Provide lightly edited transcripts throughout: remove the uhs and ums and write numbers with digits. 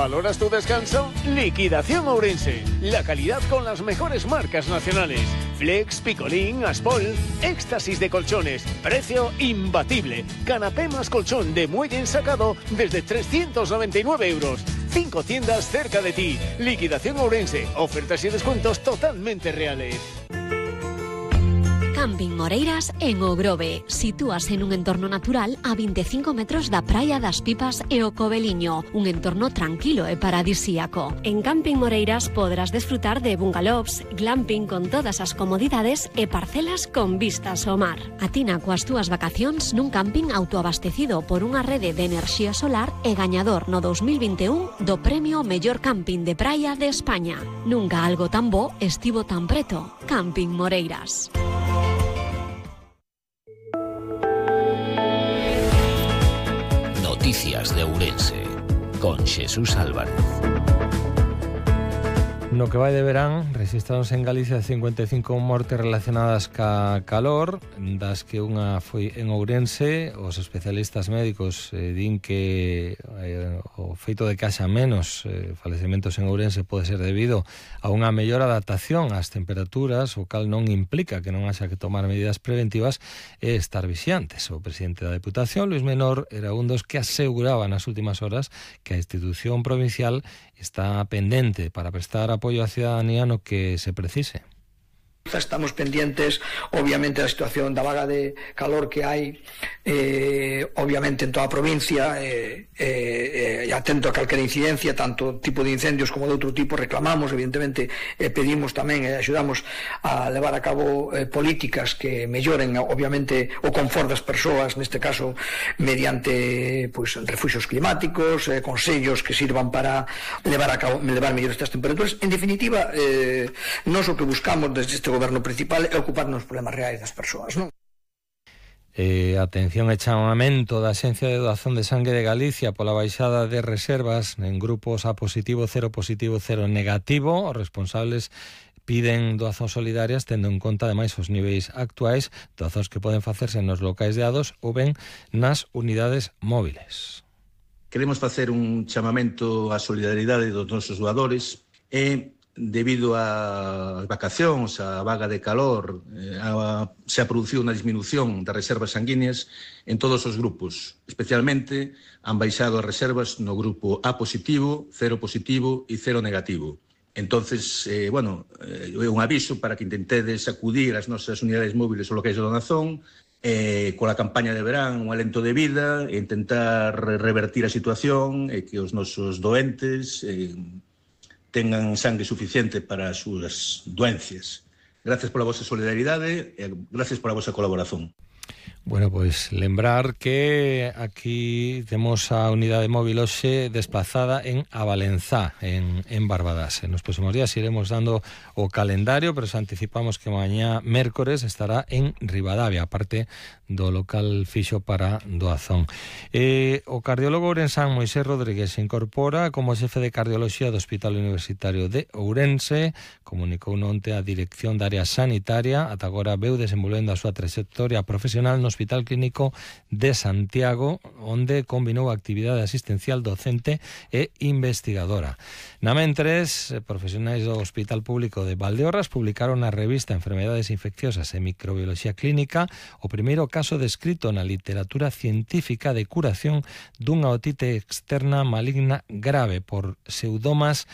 ¿Valoras tu descanso? Liquidación Ourense. La calidad con las mejores marcas nacionales. Flex, Picolín, Aspol, éxtasis de colchones. Precio imbatible. Canapé más colchón de muelle ensacado desde 399 euros. 5 tiendas cerca de ti. Liquidación Ourense. Ofertas y descuentos totalmente reales. Camping Moreiras en O Grove. Sitúase en un entorno natural a 25 metros da Praia das Pipas e o Coveliño. Un entorno tranquilo e paradisíaco. En Camping Moreiras podrás desfrutar de bungalows, glamping con todas as comodidades e parcelas con vistas ao mar. Atina coas túas vacacións nun camping autoabastecido por unha rede de enerxía solar e gañador no 2021 do Premio Mellor Camping de Praia de España. Nunca algo tan bo estivo tan preto. Camping Moreiras. Noticias de Ourense, con Xesús Álvarez. No que vai de verán, registraronse en Galicia 55 mortes relacionadas ca calor, das que unha foi en Ourense. Os especialistas médicos din que o feito de que haxa menos falecementos en Ourense pode ser debido a unha mellor adaptación ás temperaturas, o cal non implica que non haxa que tomar medidas preventivas e estar vixiantes. O presidente da Deputación, Luis Menor, era un dos que aseguraba nas últimas horas que a institución provincial está pendente para prestar apoio á cidadanía no que se precise. Estamos pendientes, obviamente, da situación da vaga de calor que hai, obviamente, en toda a provincia, atento a calquera incidencia, tanto tipo de incendios como de outro tipo. Reclamamos, evidentemente, pedimos tamén e axudamos a levar a cabo políticas que melloren, obviamente, o confort das persoas, neste caso, mediante refuxios climáticos, consellos que sirvan para levar mellor estas temperaturas. En definitiva, nós o que buscamos desde este goberno principal é ocuparnos dos problemas reais das persoas, non? Atención e chamamento da Axencia de Doazón de Sangue de Galicia pola baixada de reservas en grupos A positivo, cero positivo, cero negativo. Os responsables piden doazóns solidarias tendo en conta ademais os niveis actuais, doazóns que poden facerse nos locais de A2 ou ben nas unidades móviles. Queremos facer un chamamento á solidaridade dos nosos doadores e debido ás vacacións, a vaga de calor, se ha producido unha disminución das reservas sanguíneas en todos os grupos. Especialmente han baixado as reservas no grupo A positivo, cero positivo e cero negativo. Entonces, é un aviso para que intentedes acudir ás nosas unidades móviles ou locais de donación, coa campaña de verán, un alento de vida, e intentar revertir a situación e que os nosos doentes tengan sangue suficiente para as súas doencias. Gracias pola vosa solidaridade e gracias pola vosa colaboración. Bueno, pois lembrar que aquí temos a unidade móvil hoxe desplazada en Avalenzá, en Barbadas. En os próximos días iremos dando o calendario, pero se anticipamos que mañá mércores estará en Ribadavia, aparte do local fixo para doazón. O cardiólogo ourensán Moisés Rodríguez se incorpora como xefe de cardioloxía do Hospital Universitario de Ourense. Comunicou onte a dirección da área sanitaria. Ata agora veu desenvolvendo a súa trayectoria profesional no Hospital Clínico de Santiago, onde combinou a actividade asistencial docente e investigadora. Na mentres, profesionais do Hospital Público de Valdeorras publicaron na revista Enfermedades Infecciosas e Microbiología Clínica o primeiro caso descrito na literatura científica de curación dunha otite externa maligna grave por Pseudomonas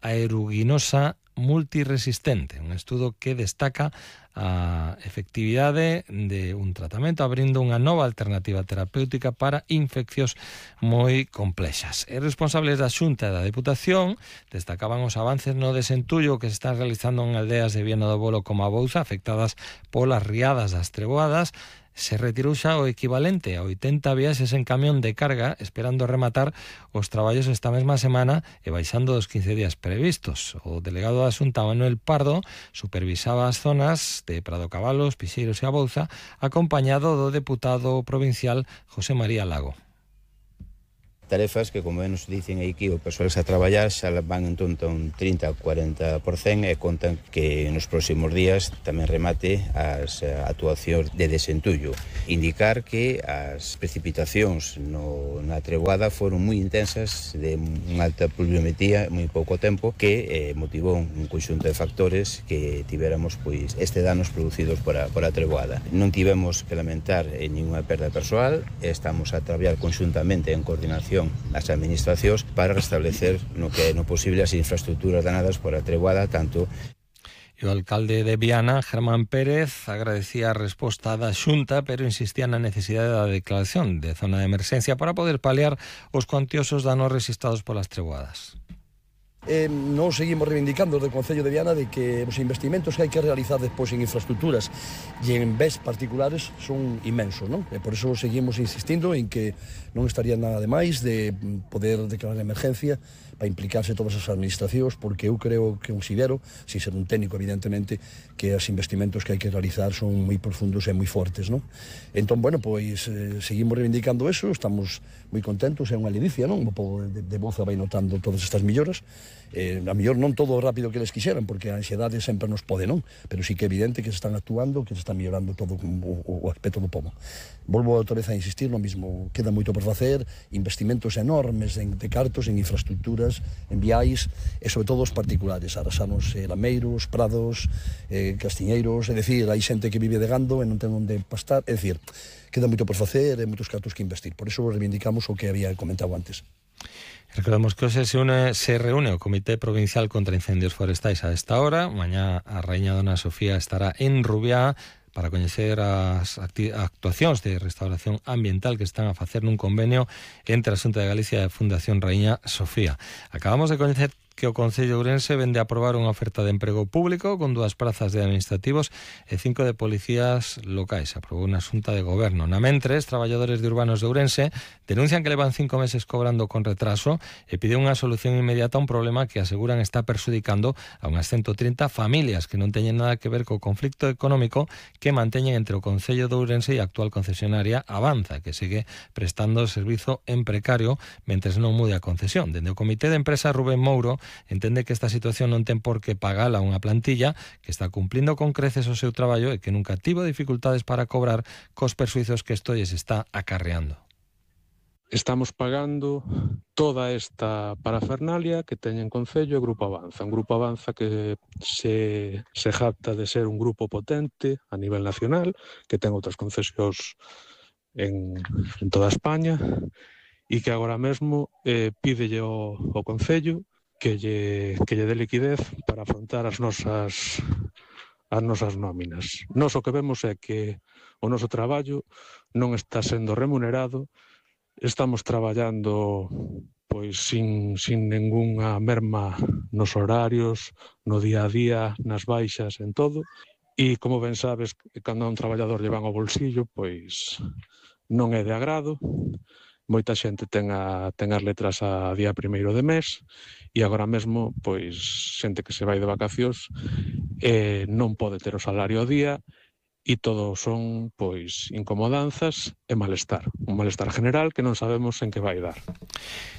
aeruginosa multiresistente, un estudo que destaca a efectividade de un tratamento abrindo unha nova alternativa terapéutica para infeccións moi complexas. E responsables da Xunta e da Deputación destacaban os avances no desentullo que se están realizando en aldeas de Viana do Bolo como a Bouza, afectadas polas riadas das treboadas. Se retirou xa o equivalente a 80 viaxes en camión de carga, esperando rematar os traballos esta mesma semana e baixando dos 15 días previstos. O delegado da Xunta, Manuel Pardo, supervisaba as zonas de Prado Cabalos, Pixeiros e a Bouza, acompañado do deputado provincial José María Lago. Tarefas que, como nos dicen aquí, o persoal a traballar xa van en torno a un 30-40% e contan que nos próximos días tamén remate as actuacións de desentullo. Indicar que as precipitacións na treboada foron moi intensas, de unha alta pluviometría, moi pouco tempo, que motivou un conxunto de factores que tivéramos pois danos producidos por a treboada. Non tivemos que lamentar ninguna perda persoal, estamos a traballar conxuntamente en coordinación as administracións para restablecer no que é no posible as infraestructuras danadas por a treboada, tanto. O alcalde de Viana, Germán Pérez, agradecía a resposta da Xunta, pero insistía na necesidade da declaración de zona de emerxencia para poder paliar os cuantiosos danos rexistrados polas treboadas. Nos seguimos reivindicando desde o Concello de Viana de que os investimentos que hai que realizar despois en infraestructuras e en bens particulares son inmensos, non? E por iso seguimos insistindo en que non estaría nada de máis de poder declarar emergencia para implicarse todas as administracións, porque eu creo que considero, sin ser un técnico evidentemente, que os investimentos que hai que realizar son moi profundos e moi fortes, non? Entón, bueno, pois seguimos reivindicando eso, estamos moi contentos, é unha ledicia, non? O povo de Boza vai notando todas estas melloras. A mellor non todo o rápido que eles quixeran, porque a ansiedade sempre nos pode, non? Pero sí que é evidente que se están actuando, que se está mellorando todo o aspecto do povo. Volvo outra vez a insistir no mismo, queda moito por facer, investimentos enormes de cartos en infraestructuras, en viais, e sobre todo os particulares, arrasarnos lameiros, prados, castiñeiros, é dicir, hai xente que vive de gando e non ten onde pastar, é dicir, queda moito por facer e moitos cartos que investir, por iso reivindicamos o que había comentado antes. Recordemos que hoxe se reúne o Comité Provincial contra Incendios Forestais a esta hora. Mañá a Raíña Dona Sofía estará en Rubiá para coñecer as actuacións de restauración ambiental que están a facer nun convenio entre a Xunta de Galicia e a Fundación Raíña Sofía. Acabamos de coñecer que o Concello de Ourense vende a aprobar unha oferta de emprego público con 2 prazas de administrativos e 5 de policías locais. Aprobou unha xunta de goberno. Na mentres, traballadores de urbanos de Ourense denuncian que levan 5 meses cobrando con retraso e piden unha solución inmediata a un problema que aseguran está perxudicando a unhas 130 familias que non teñen nada que ver co conflicto económico que manteñen entre o Concello de Ourense e a actual concesionaria Avanza, que sigue prestando servizo en precario mentres non mude a concesión. Dende o Comité de Empresa Rubén Mouro entende que esta situación non ten por que pagala unha plantilla que está cumplindo con creces o seu traballo e que nunca tivo dificultades para cobrar cos persuizos que isto lles está acarreando. Estamos pagando toda esta parafernalia que teñen Concello e Grupo Avanza. Un Grupo Avanza que se jacta de ser un grupo potente a nivel nacional, que ten outras concesións en toda España e que agora mesmo pídelle ao Concello que lle dé liquidez para afrontar as nosas nóminas. Nós o que vemos é que o noso traballo non está sendo remunerado, estamos traballando pois sin ningunha merma nos horarios, no día a día, nas baixas, en todo, e como ben sabes, cando a un traballador lle van ao bolsillo, pois non é de agrado. Moita xente ten as letras a día 1º de mes e agora mesmo, pois, xente que se vai de vacacións non pode ter o salario ao día e todo son, pois, incomodanzas e malestar. Un malestar general que non sabemos en que vai dar.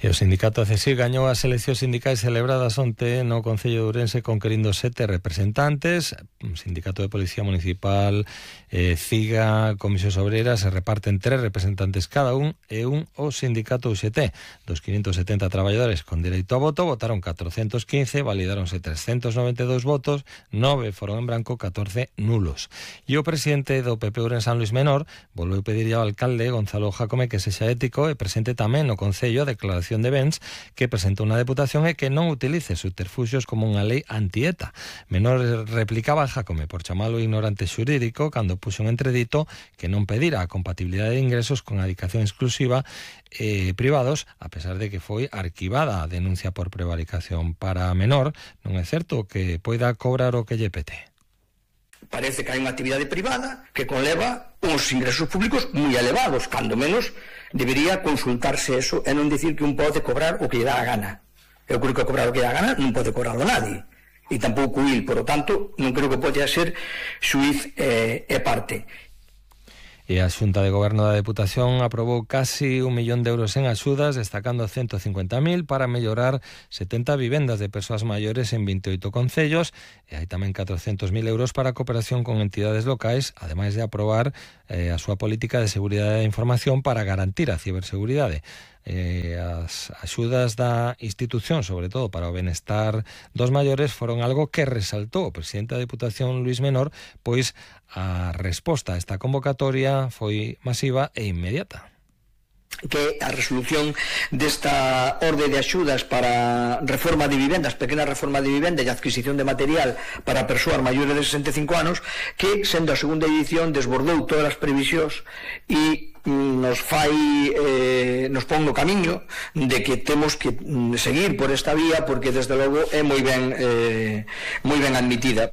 E o sindicato CSIC gañou as eleccións sindicais celebradas onte no Concello de Ourense conquerindo 7 representantes. O Sindicato de Policía Municipal, CIGA, Comisións Obreras se reparten 3 representantes cada un e un o Sindicato UGT. Dos 570 traballadores con dereito a voto votaron 415, validáronse 392 votos, 9 foron en branco, 14 nulos. E o presidente do PP Ourensán, Luis Menor, volveu pedir ao alcalde Gonzalo Jácome que sexa ético e presente tamén no Concello a declaración de bens que presentou na Deputación e que non utilice subterfuxios como unha lei antieta. Menor replicaba a Jácome por chamalo ignorante xurídico cando puxo un entredito que non pedira a compatibilidade de ingresos con a dedicación exclusiva privados, a pesar de que foi arquivada a denuncia por prevaricación. Para Menor, non é certo que poida cobrar o que lle pete. Parece que hai unha actividade privada que conleva uns ingresos públicos moi elevados, cando menos debería consultarse eso e non dicir que un pode cobrar o que lle dá a gana. Eu creo que cobrar o que lle dá a gana non pode cobrarlo nadie, e tampouco il, por lo tanto, non creo que pode ser xuiz e parte. E a Xunta de Goberno da Deputación aprobou casi 1 millón de euros en axudas, destacando 150.000 para mellorar 70 vivendas de persoas maiores en 28 concellos, e hai tamén 400.000 euros para a cooperación con entidades locais, ademais de aprobar a súa política de seguridade da información para garantir a ciberseguridade. As axudas da institución, sobre todo para o benestar dos maiores, foron algo que resaltou o presidente da Deputación, Luís Menor, pois a resposta a esta convocatoria foi masiva e inmediata. Que a resolución desta orde de axudas para reforma de vivendas, pequena reforma de vivenda e adquisición de material para persoas maiores de 65 anos, que, sendo a segunda edición, desbordou todas as previsións e nos pon no camiño de que temos que seguir por esta vía, porque desde logo é moi ben admitida.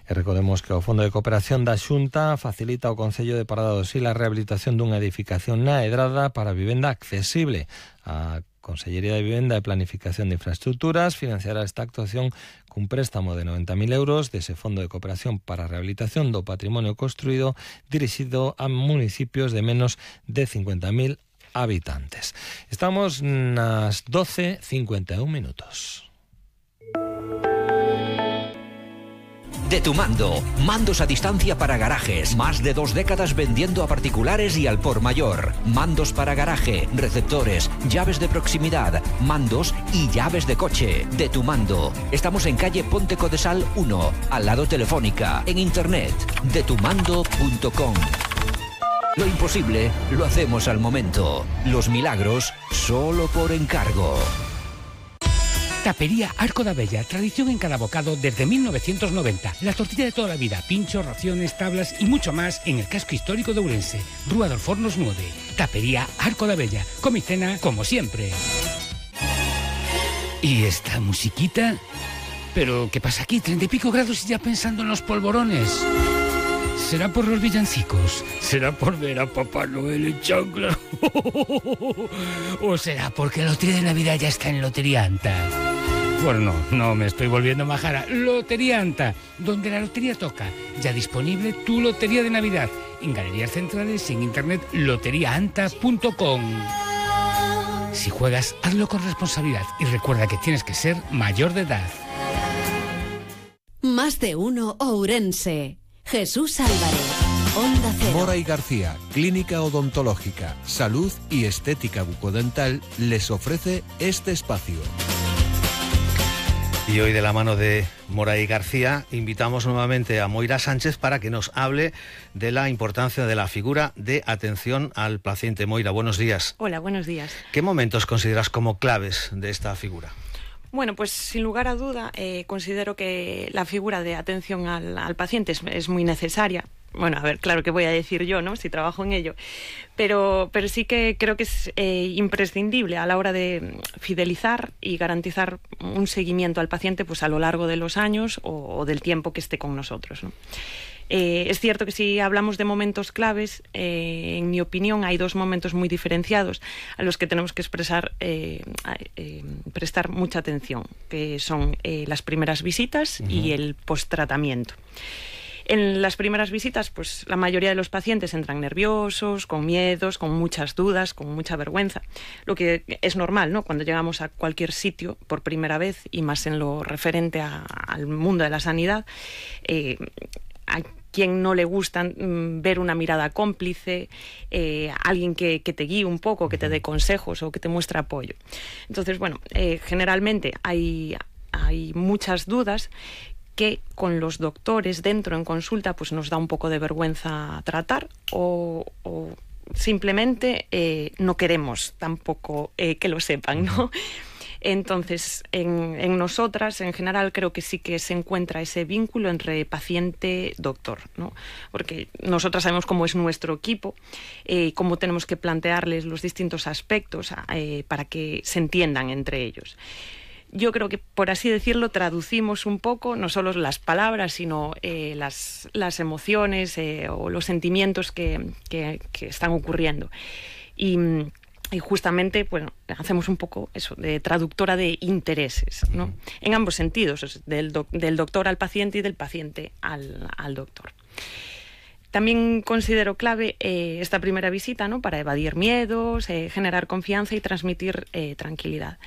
E recordemos que o Fondo de Cooperación da Xunta facilita ao Concello de Parada do Sil a rehabilitación dunha edificación na Edrada para vivenda accesible. A Consellería de Vivenda e Planificación de Infraestructuras financiará esta actuación cun préstamo de 90.000 euros dese Fondo de Cooperación para a Rehabilitación do Patrimonio Construído dirixido a municipios de menos de 50.000 habitantes. Estamos nas 12:51 minutos. De Tu Mando, mandos a distancia para garajes, más de 2 décadas vendiendo a particulares y al por mayor. Mandos para garaje, receptores, llaves de proximidad, mandos y llaves de coche. De Tu Mando. Estamos en calle Ponte Codesal 1, al lado Telefónica, en internet, detumando.com. Lo imposible lo hacemos al momento. Los milagros solo por encargo. Tapería Arco da Bella, tradición en cada bocado desde 1990. La tortilla de toda la vida, pinchos, raciones, tablas y mucho más en el casco histórico de Ourense. Rúa dos Fornos 9. Tapería Arco da Bella. Come y cena como siempre. ¿Y esta musiquita? ¿Pero qué pasa aquí? 30 y pico grados y ya pensando en los polvorones. ¿Será por los villancicos? ¿Será por ver a Papá Noel en chancla? ¿O será porque la lotería de Navidad ya está en Lotería Anta? Bueno, no me estoy volviendo majara. Lotería Anta, donde la lotería toca. Ya disponible tu lotería de Navidad. En galerías centrales y en internet loteriaanta.com. Si juegas, hazlo con responsabilidad y recuerda que tienes que ser mayor de edad. Más de uno Ourense. Jesús Álvarez, Onda Cero. Mora y García, Clínica Odontológica, Salud y Estética Bucodental, les ofrece este espacio. Y hoy, de la mano de Mora y García, invitamos nuevamente a Moira Sánchez para que nos hable de la importancia de la figura de atención al paciente. Moira, buenos días. Hola, buenos días. ¿Qué momentos consideras como claves de esta figura? Bueno, pues sin lugar a duda, considero que la figura de atención al paciente es muy necesaria. Bueno, a ver, claro que voy a decir yo, ¿no?, si trabajo en ello, pero sí que creo que es imprescindible a la hora de fidelizar y garantizar un seguimiento al paciente pues a lo largo de los años o del tiempo que esté con nosotros, ¿no? Es cierto que si hablamos de momentos claves, en mi opinión hay 2 momentos muy diferenciados a los que tenemos que prestar mucha atención, que son las primeras visitas y el posttratamiento. En las primeras visitas, pues la mayoría de los pacientes entran nerviosos, con miedos, con muchas dudas, con mucha vergüenza, lo que es normal, ¿no?, cuando llegamos a cualquier sitio por primera vez y más en lo referente al mundo de la sanidad. A quien no le gusta ver una mirada cómplice, alguien que te guíe un poco, que te dé consejos o que te muestre apoyo. Entonces, bueno, generalmente hay muchas dudas que con los doctores dentro en consulta pues nos da un poco de vergüenza tratar o simplemente no queremos tampoco que lo sepan, ¿no? Entonces, en nosotras, en general, creo que sí que se encuentra ese vínculo entre paciente-doctor, ¿no? Porque nosotras sabemos cómo es nuestro equipo, cómo tenemos que plantearles los distintos aspectos para que se entiendan entre ellos. Yo creo que, por así decirlo, traducimos un poco no solo las palabras, sino las emociones o los sentimientos que están ocurriendo. Y justamente, bueno, hacemos un poco eso, de traductora de intereses, ¿no? En ambos sentidos, del doctor al paciente y del paciente al doctor. También considero clave esta primera visita, ¿no?, para evadir miedos, generar confianza y transmitir tranquilidad.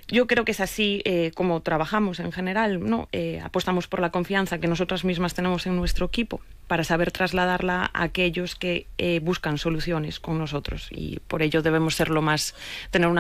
Yo creo que es así como trabajamos en general, ¿no? Apostamos por la confianza que nosotras mismas tenemos en nuestro equipo para saber trasladarla a aquellos que buscan soluciones con nosotros, y por ello debemos ser tener una